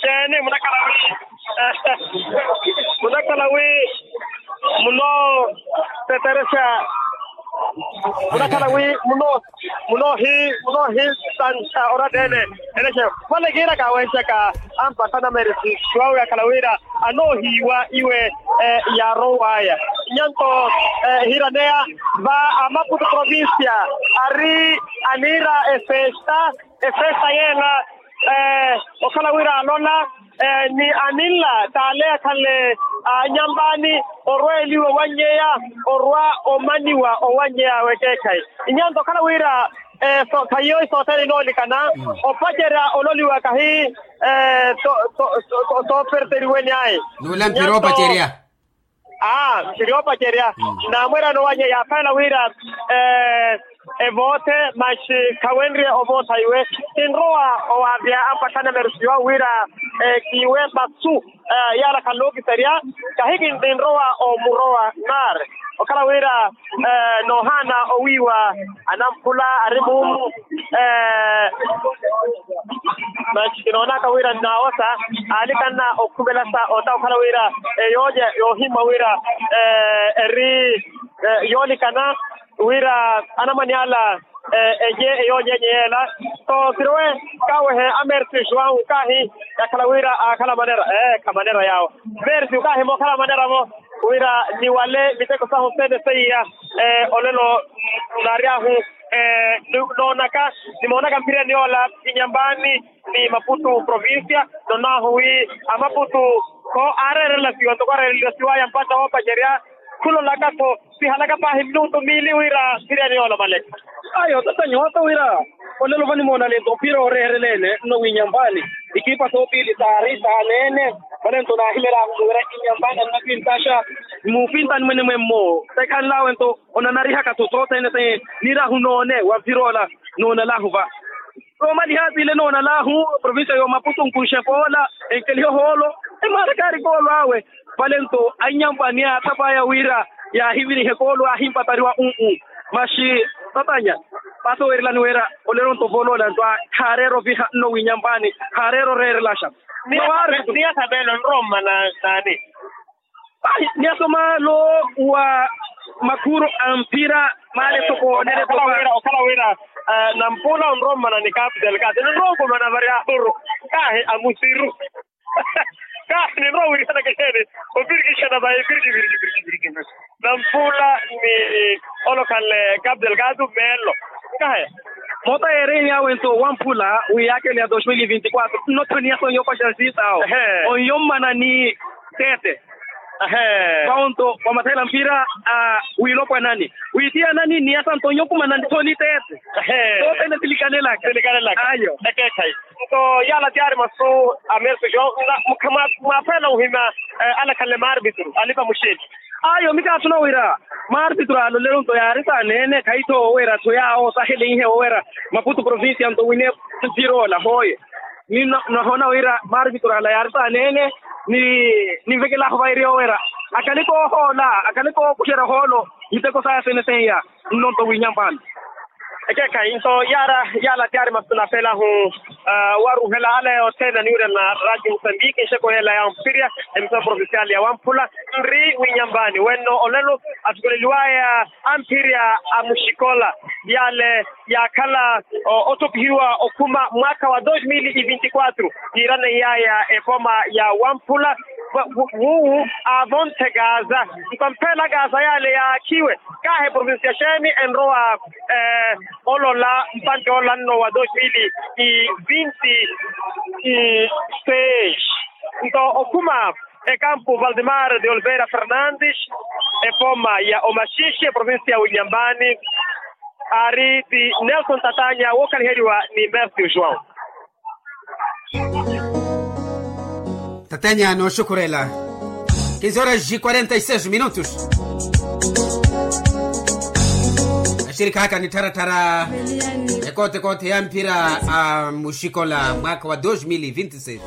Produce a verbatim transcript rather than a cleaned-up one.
Xeeni munakhala wi munakhala wi munooteteresya munakhala wi muno munoohi munoohisansa oratta ene. Ene xe vale kiira kaaweexaka ampathana meresi wawe akhala wira anoohiiwa iwe yaarow'aya. Nyanto ehiraneya va amaputu provincia ari aniira efesta efesta yeela okhala wira alola ni aninla taale akhale anyambaani orweeliwa owannyeya orwa omaniwa owannyeya awe ekeekhayi. Inyanto okhala wira khayiyo sothene inoolikana opacerya ololiwa kahi sooperteriweni ayi. Nuula mpira opacerya. Aa siri opacerya. Naamwerano wanye yaaphayela wira evoothe maxi khawenrye ovootha iwe. Sinrowa owavya ampathana meresiwa wira kiwe masu yala khalookiserya kahi kinrowa omurowa nari okhala wira noohaana owiiwa anamphula ari muumu. Maxi kinoonaka wira nnawosa aalikanna okhumelasa ota okhala wira eyoolya yoohimwa wira eri yoolikana wira anamwane ala eye eyoolya enye yeela. Sookirowe kawehe amersi joão kahi yakhala wira aakhala manera ee khamanera yaawo. Mersi kahi mookhala manera-vo wira niwale miteko sahu sene seiya olelo naaryahu noonaka nimoonaka mphiriyani yoola inyambaani ni maputu provincia. Nonahu wi amaputu kho aareerelasiwa ntoko areerelasiwaya mpata woopacerya khulolaka-tho sihalaka paahi minutu miili wira mphiriyani yoola maleka. Ayo tata nyooto wira olelo vanimoonale nto mphira ooreerelene nno winyambaani ikipa soopiili saari saaneene. Vale nto naahimelahu wira inyambaani annafintaxa muufintani mwene mwemmo tekhanlawe nto onanarihaka-tho sothene se niirahu noone wa mphira ola noonalahu va. Soomaliha tiile noonalahu provincia y'omaputu nkuxe poola enkelihe ohoolo emaarakaari koolo awe. Vale nto annyampo ani aathapaaya wira yaahivirihe koolo aahimpatariwa u-u maxi tatanya. Paso weerilani wira olelo nto vooloola nto khareera oviha nno winyampo ani khareera oreerelaxa. Niyathapeelo nrommana naani? Ai niyasoma lo wa makhuro a mphira maale sokoonele. Okhala wira nampuula onrommana ni capital kasi ninrowa okumana vari a uru kahi amusiru. Kahi ninrowa wirihanaka exeeni opirikixana vayi pirikipirikipirikipiriki. Nampuula ni olokhanle capital kasi meelo. Kahi moota yeereni awe nto wamphula wi yaakele ya dos mil vinti quatro nnottho niyasonye opaxa siitaawo. Onyommana ni teete. Vawo nto wamathela mphira a wiilopwanani wiitiyanani niyasa nto onyokumana nto ni teete. Sothene silikanelaka. Ayo ekeekhayi. Nto yaala tiyaari masu a merso joão. Mwaafeela ohima alakhanle maarvitru alipa muxeeni. Ayo mikaasuna wira maarvitru alolelo nto yaari saaneene khayi-tho wira-tho yaawo saheleihe wira maputu provincia nto wine mphira ola hooye. Ni nahoona wira maarvitru ala yaari saaneene ni ninvekelahu vairi yowera akhale koohoola akhale kookuxerya ohoolo miteko saya sene seiya. Nnonto wiinyampani ekeekhayi nto yaara yaala tiyaari masu nafeelahu waruhela ala yothene aniwirana radio musambiki nxeko yeela ya mpirya emisora provincial ya wamphula. Nri wiinyampani wenno olelo athukuleliwaya amphirya a muxikola yale yaakhala othopihiwa okhuma mwaakha wa dos mil e vinti quatro yiiraneiyaya epooma ya wamphula. Wuwu aavonthe kaasa nto amphela kaasa yale yaakhiwe kahi provincia xeeni enrowa olola mpantte olanno wa dos mil e vinti seis. Nto okhuma ekampu valdemar de oliveira fernandes epooma ya omaxixi eprovincia ya winyambani. Aari ti nelson tatanya wookhaliheriwa ni mercio joão. Tatenya nooxukhurela. Kinzi horas de quarenta e seis minutos. Axirikhaaka nittharattharya ekootekoothe ya mphira a muxikola mwaakha wa dos mil e vinti seis.